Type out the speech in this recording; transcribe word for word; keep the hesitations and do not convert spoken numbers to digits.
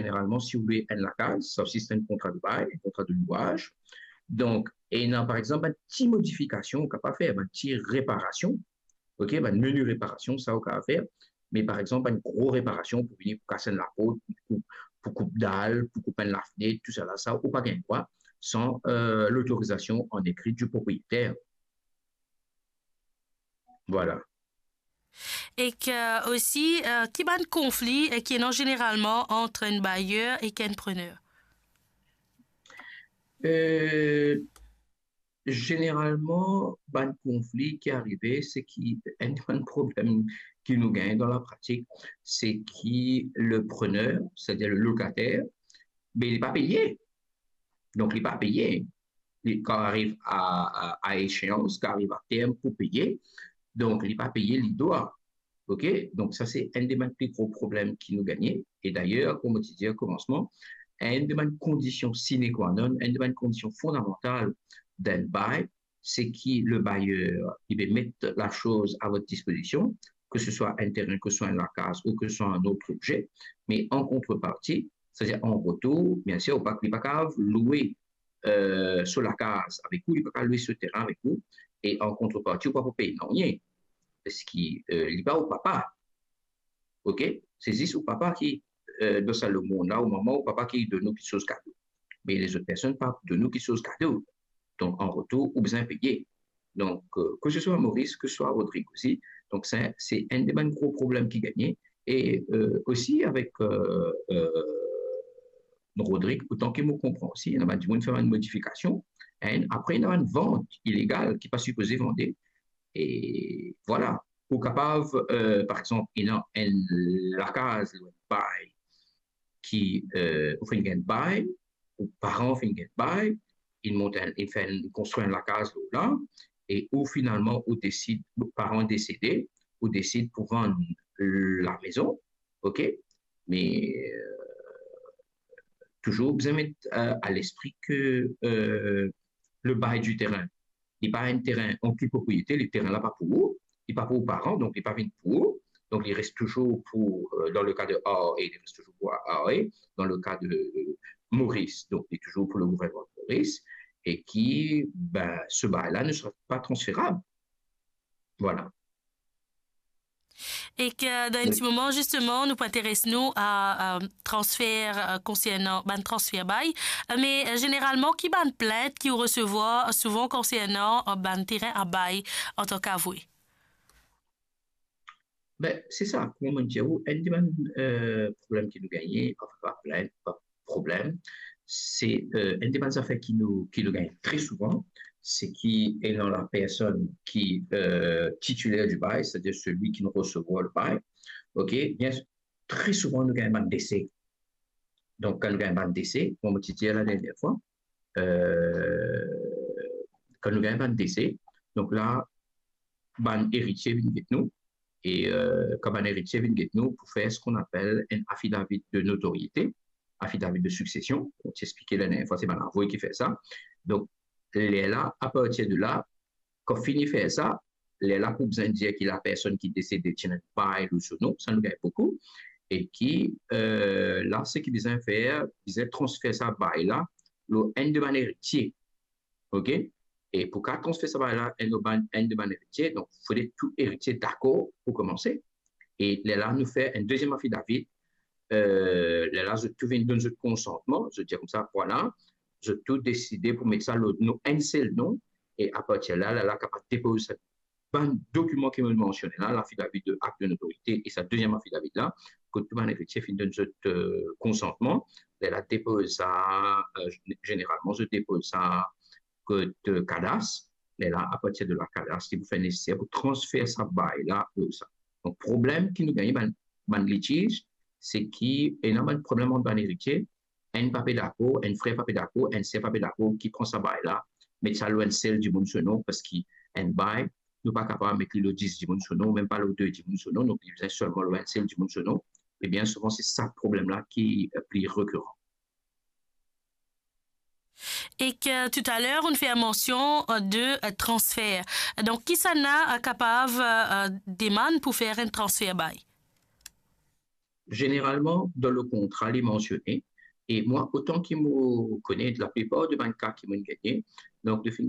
Zeneralman, si ou lwe enn lakaz, sa osi se enn kontra de bay, enn kontra de lwaz. Donk, ena, par exanp, bann ti modifikasion ou kapav fer, bann ti reparasion, ok, bann mini reparasion, sa ou kapav fer. Me par exanp, bann gro reparasion pou vini pou kas enn laport, pou koup, pou koup dal, pou koup enn lafnet, tousala, sa ou pa gagn drwa san, euh, lotorizasion an ekri di propriyeter. Vwala. Ek osi, euh, ki bann konfli, euh, ki ena zeneralman ant enn bayer ek enn prener? Euh, zeneralman, bann konfli ki arive, se ki enn bann problem ki nou gagn dan lapratik, se ki le prener, setadir le lokater, be li pa peye. Donk, li pa peye. Li, kan ariv a, a, a esheans, kan ariv a term pou peye, donk, li pa peye, li dwa. Ok? Donk, sa, se enn de bann pli gro problem ki nou gagne. E dayer, kouma ti dir o komansman, enn de bann kondision sine qua non, enn de bann kondision fondamantal dan enn bay, se ki le bayer, li pe met lasoz a vot dispozision, ke se swa enn terin, ke se swa enn lakaz, ou ke se swa enn lot obze, me an kontreparti, setadir an retour, biensir, ou pa, li pa kapav lwe, euh, so lakaz avek ou, li pa kapav lwe so terin avek ou, e an kontreparti, ou pa pou pey nanye, parski, euh, li pa ou papa. Ok? Se zis ou papa ki, euh, dan sa lemonn la, ou manman, ou papa ki donn ou kiksoz kado. Me lezot personn pa donn ou kiksoz kado. Donk, an retour, ou bizin peye. Donk, euh, ke se swa Moris, ke se swa Rodrig osi. Donk, se, se enn de bann gro problem ki gagne. E, euh, osi avek, euh, euh, Rodrig, otan ki mo konpran osi, ena bann dimoun fer bann modifikasion, enn, apre ena bann vant ilegal ki pa sipoze vande. E vwala, ou kapav, euh, par exanp, ena enn lakaz, enn bay ki, euh, ou finn gagn bay, ou paran finn gagn bay, li mont enn, li fer enn, li konstrir enn lakaz lor la, e ou finalman ou desid, paran desede, ou desid pou vann lamezon, ok? Me, euh, touzour bizin met, euh, a lespri ke, euh, le bay di terin, li pa enn terin an ki propriete, le terin la pa pou ou, li pa pou ou paran, donk li pa vinn pou ou, donk li res touzour pou, euh, dan le ka de R A, li res touzour pou R A, dan le ka de, euh, Moris, donk li touzour pou le gouvernman de Moris, e ki, ben, se bay la ne sera pa transferab. Vwala. Ek, euh, dan enn ti moman, zisteman, nou pou interes nou a, euh, transfer, euh, konsernan bann transfer bay. Euh, me, euh, zeneralman, ki bann plint ki ou resevwar souvan konsernan, euh, bann terin a bay antan ki avwe? Ben, se sa, kouma mo dir ou, enn de bann, euh, problem ki nou gagne, anfin, pa plint, pa problem, se, euh, enn de bann zafer ki nou, ki nou gagn tre souvan, se ki ena lapersonn ki, euh, titiler di bay, setadir selwi ki resevwar le bay. Ok, bien, tre souvan nou gagn bann dese. Donk, kan nou gagn bann dese, kouma mo ti dir la dernie fwa, euh, kan nou gagn bann dese, donk la, bann eritie vinn get nou, e, euh, kan bann eritie vinn get nou pou fer seki apel enn affidavit de notoriete, affidavit de suksesion, mo ti explike la dernie fwa, se bann avoy ki fer sa. Donk, lerla, apartir de la, kan fini fer sa, lerla pou bizin dir ki lapersonn ki desede ti ena enn bay lor so non, sa nou gagn boukou, e ki, euh, la, seki bizin fer, bizin transfer sa bay la lor enn de bann eritie. Ok? E pou kapav transfer sa bay la, enn bann, enn de bann eritie, donk, fode tou eritie dakor pou koumanse. E lerla, nou fer enn deziem affidavit, euh, lerla, zot tou vinn donn zot konsantman, zot dir koumsa, vwala, zot tou deside pou met sa lor nou enn sel non, e apartir la, lerla kapav depoz sa bann dokiman ki mo mansione la, laffidavit de akt de notorite e sa deziem affidavit la, kot tou bann eritie finn donn zot, euh, konsantman, lerla depoz sa, euh, zeneralman, zot depoz sa kot, euh, kadas, lerla, apartir de la, kadas, li pou fer neseser pou transfer sa bay la lor sa. Donk, problem ki nou gagne, bann, bann litiz, se ki ena bann problem ant bann eritie, enn pa pe dakor, enn frer pa pe dakor, enn ser pa pe dakor, ki pran sa bay la, met sa lor enn sel dimoun so non, parski enn bay, nou pa kapav met li lor dis dimoun so non, mem pa lor de dimoun so non, donk li bizin selman lor enn sel dimoun so non. E bien souvan, se sa problem la ki, euh, pli rekiran. Ek, euh, toutaler, ou fer mansion, euh, de, euh, transfer. Donk, kisannla, euh, kapav, euh, euh, demann pou fer enn transfer bay? zeneralman, dan le kontra, li mansione. E mwa, otan ki mo kone, laplipar de bann ka ki mo'nn gagne, donk, nou finn